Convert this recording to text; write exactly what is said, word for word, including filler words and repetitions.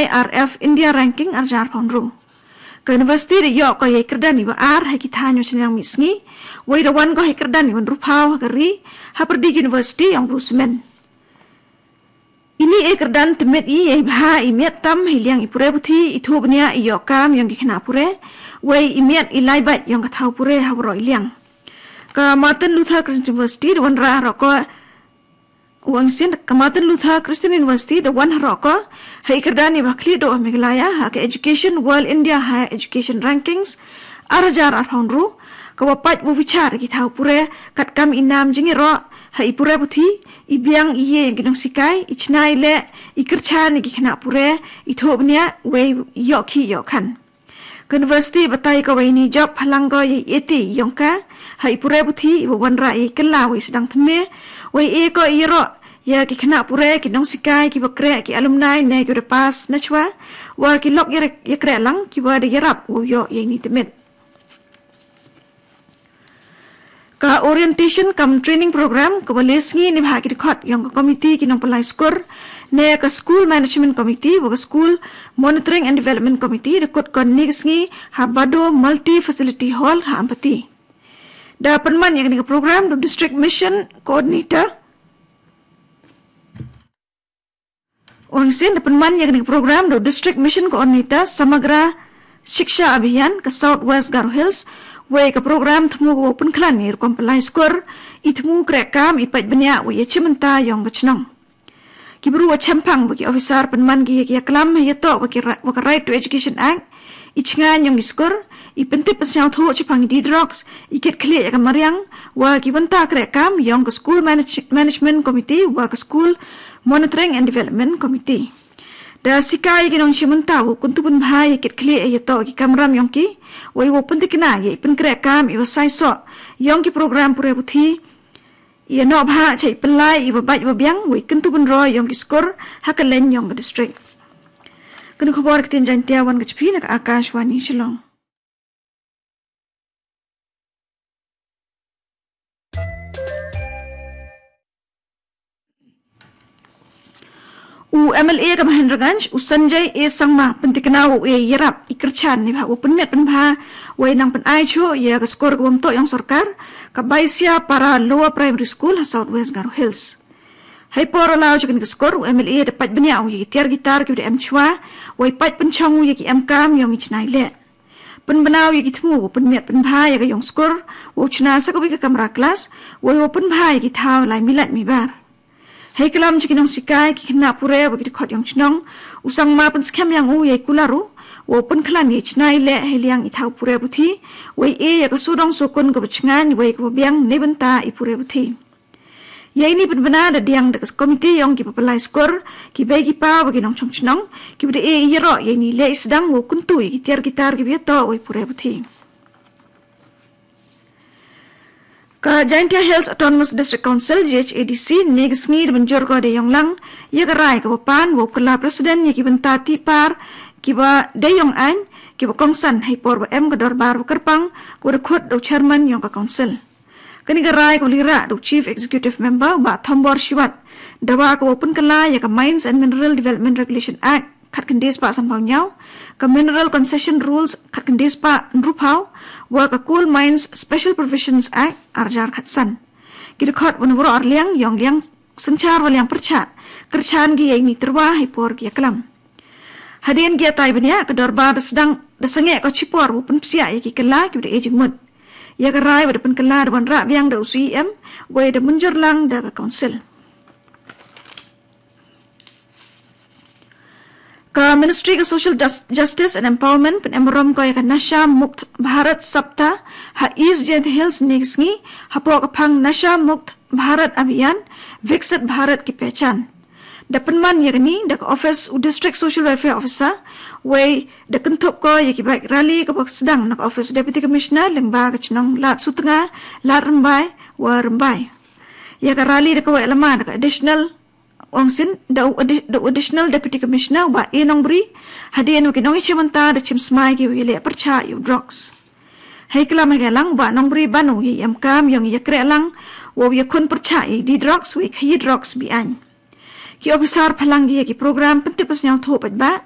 R F India Ranking arjar phaunru. Ka university da yok ko yai kerdan iba ar ha ki thanyo chenang mi sngi, wai da wan ko hai kerdan iba nruphaw ha ka ri, ha perdi university yong ru semen. Ini e kerdan temit i yai bha i miat tam hi liang i pure buthi, i thu bnia i yok kam yong ki khna pure, wai i miat i lai bait yong ka thau pure ha waro i liang. Ka Martin Luther Christian University da wan ra ro ko Wangsin ka Martin Luther Christian University da wan haroko, hai kerdani bakli do Meghalaya, ha ka Education World India Higher Education Rankings, arhajar arphaunru, ka wapat wu bichar ki thau pure, kat kam inam jingiro, hai pure buthi, i biang iye yang ginong sikai, i chnai le, i kerchan ki khna pure, i thobnia, wei yok ki yok khan. Ka university batai ka waini job phalang ko ye eti yongka, ha i pure buthi, i wanra i kela wai sedang theme, wai e ko i ro, ya ki khna pure, ki nong sikai, ki bakre, ki alumni, ne ki repas, na chwa, wa ki lok ye kre lang, ki wa de yarap, wo yo ye ni temit. Ka orientation cum training program ka wale sngi ni bha ki dkhot yong ka committee ki nong palai skur ne ka school management committee wa ka school monitoring and development committee dkhot ka ni sngi ha Bado Multi Facility Hall ha Ampati. Da penman yang ni ka program do district mission coordinator Wangsin da penman yang ni program do District Mission Coordinator Samagra Shiksha Abhiyan ka South West Garo Hills, wei ka program thmu wo penklan ni rukom pelai skur, i thmu kre kam i pait benya wo ye chimenta yong ka chnong. Ki bru wa chempang wa ki officer penman ki ya ki ya klam ya to wa ki ra-, wa ka Right to Education Act, i chngan yong i skur, i pentip pensiau tho chipang di drugs, i kit khli ya ka mariang, wa ki wanta kre kam yong ka School Manage-, Management Committee, wa ka School Monitoring and Development Committee. Da sikai ki nong chimenta wo kuntu pun bha ya kit khli ya to ki kamram yong ki, wa i wo pentikna ya i penkre kam i wa sai so, yong ki program pure buthi, Ia nok bha chai pelai iba bait iba biang wei kentu benro yong ki skur ha ka len yong ka district. Kenu khobor ka tin Jaintia wan ka chpi na ka Akashvani Shillong. U M L A ka Mahendraganj, u Sanjay A Sangma, pentikna u e yarap, i kerchan ni bha, u penmiat penbha, wei nang penai chu, ia ka skor ka wamto yong sorkar, ka Baisia Para Lower Primary School, ha South West Garo Hills. Hai por lau chu ka skor, u M L A da pait benia u ia ki tiar gitar ki da em chua, wei pait penchong u ia ki em kam yong i chnai le. Penbenau ia ki thmu, u penmiat penbha ia ka yong skor, u chna sa ka wei ka kamra klas, wei u penbha ia ki thau lai milat mibar. Hei kalam chi ki nong sikai, ki kena pure, wa ki dkhot yong chnong, u Sangma pen skhem yang u yei kularu, wa pen klan yei chnai le, hei liang i thau pure buthi, wei e ya ka sudong sukun ka bachngan, wei ka biang ne benta i pure buthi. Yei ni pen bena da diang da ka komiti yong ki papalai skor, ki bai ki pa, wa ki nong chong chnong, ki bada e i yero, yei ni le i sedang, wa kuntu, yei ki tiar ki tar, ki bia to, wei pure buthi. Ka Jaintia Hills Autonomous District Council, J H A D C, ne ka sngi da banjur ko da yong lang, ia ka rai ka wapan, wa kala president, ia ki benta ti par, ki ba da yong ain, ki ba kongsan, hai por ba em ka dorbar ba kerpang, ko da khut da chairman yong ka council. Kani ka rai ko lira da chief executive member, ba Thombor Shiwat, da wa ka wapan kala, ia ka Mines and Mineral Development Regulation Act, khat kendis pa sampau nyau, ka Mineral Concession Rules khat kendis pa nrupau, wa ka Coal Mines Special Provisions Act arjar khat san. Ki dkhot wan waro arliang, yong liang, senchar wa liang percha, kerchan ki yai ni terwa hai por ki aklam. Hadien ki atai benia, ka dorbar da sedang, da senge ko chipor, wa pen psia ia ki kala, ki bada e jingmut. Ia ka rai, wa da pen kala, da wan ra biang da u C E M, wei da munjur lang da ka council. Ka Ministry ka Social Jus-, Justice and Empowerment pen em rom ko ia ka Nasha Mukt Bharat Saptah ha East Jaintia Hills ne ka sngi, hapo ka phang Nasha Mukt Bharat Abhiyan, Viksit Bharat ki pehchan. Da penman ia ka ni, da ka office u District Social Welfare Officer, wei da kenthup ko ia ki bike rally ka bak sedang na ka office Deputy Commissioner, lengba ka chnong Lad Sutnga, Lad Rembai, wa Rembai. Ia ka rally da ka wei lama da ka additional Ong sin, da u addi-, da u Additional Deputy Commissioner, wa e Nongbri, hadien wa ki nong i chimanta, da chim smai ki wa i le percha i u drugs. Hei kalam hei lang, wa Nongbri banu i em kam, yong i kre lang, wa i kun percha i di drugs, wa i khayi drugs bi ain. Ki officer phalang ki, ki program, pentip pas nyau tho pat ba,